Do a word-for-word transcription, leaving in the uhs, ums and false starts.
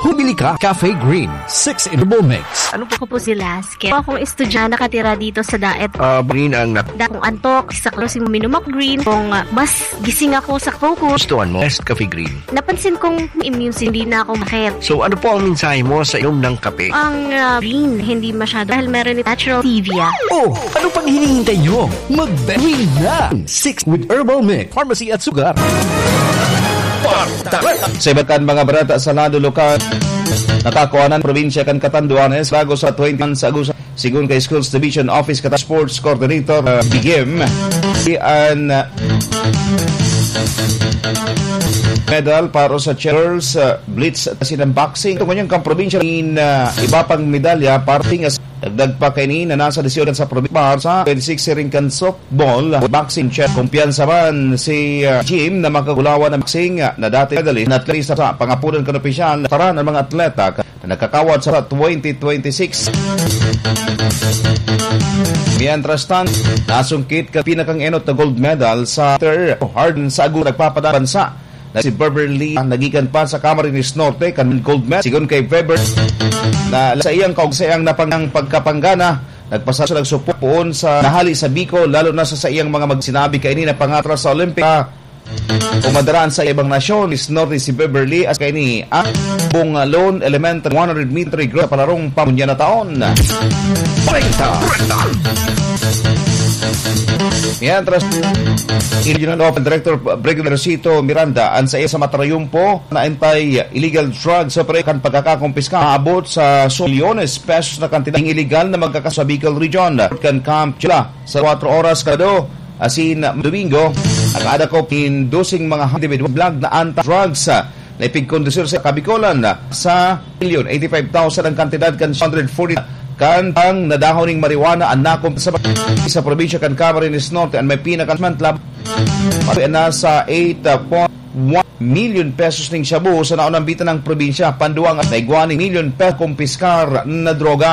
Bumili ka, Cafe Green, six in Herbal Mix. Ano po? Ako po si Laske. Ako pong estudyante nakatira dito sa Daet. Ah, Green ang nat- Da kung antok, sa klosing minum ako green. Kung, ah, mas gising ako sa focus. Gustuhan mo, Best Cafe Green. Napansin kong immune system, hindi na ako masakit. So, ano po ang mensahe mo sa inom ng kape? Ang, ah, green, hindi masyado dahil meron itong natural stevia. Oh, ano pang hinihintay nyo? Mag-Green na! Six with Herbal Mix, Pharmacy at Sugar. Sa iba kan mga bareta sa lado lokal, natakuanan probinsya kan Catanduanes bago sa twenty-one sa Agosto. Sigon kay Schools Division Office kata Sports Coordinator, uh, Bigim, si an, uh, medal para sa girls, uh, blitz at sinang boxing. Ito ngunyan kang probinsya in, uh, iba pang medalya, parting as dagdag pa kaini na nasa desisyon sa probinsya sa twenty-six siring kan softball, boxing, chess. Kumpiyansa man si, uh, Jim na makagulawan ng boxing, uh, na dati medalist na atleta sa pangapunan kan opisyal. Taran ang mga atleta na nakakawat sa twenty twenty-six. Mientras tanto, nasungkit ka pinakang enot na gold medal sa Ter Hardin sa Agosto nagpapadabansa na si Beverly ang nagikan pa sa Camarines Norte kan gold medal. Sigon kay Weber na sa iyang kaugsayan na pang-, pagkapanggana, nagpasasya nagsupot poon sa nahali sa Bicol, lalo na sa saiyang mga mag-, sinabi kaini na pangatras sa Olympic. Kumadaraan sa ibang nasyon, is Norte si Beverly as kaini ang Bungalon Elementary one hundred meter group sa palarong pamunya na taon. Kwenta! Mientras, Regional Office Director Brigadier Sito Miranda, an sa iya sa Matarayumpo, na anti-illegal drugs operation kan pagkakakumpiska, aabot sa milyones pesos na kantidad ng illegal na magkakaso sa Bicol Region. Kan Camp Chula, sa kwatro oras kada asin Domingo, nakadakop nin doseng mga individual bag na anti-drugs, ah, na ipigkondusir sa Kabikolan, ah, sa milyon eighty-five thousand ang kantidad kan one hundred forty kan ang nadahon ning marijuana an nakumpiska sa probinsya kan Camarines Norte. An may pinakamantlab na sa eight point one milyon pesos ning shabu sa naunambitan ng probinsya. Panduwang na igwa ning milyon pesos kumpiskar na droga.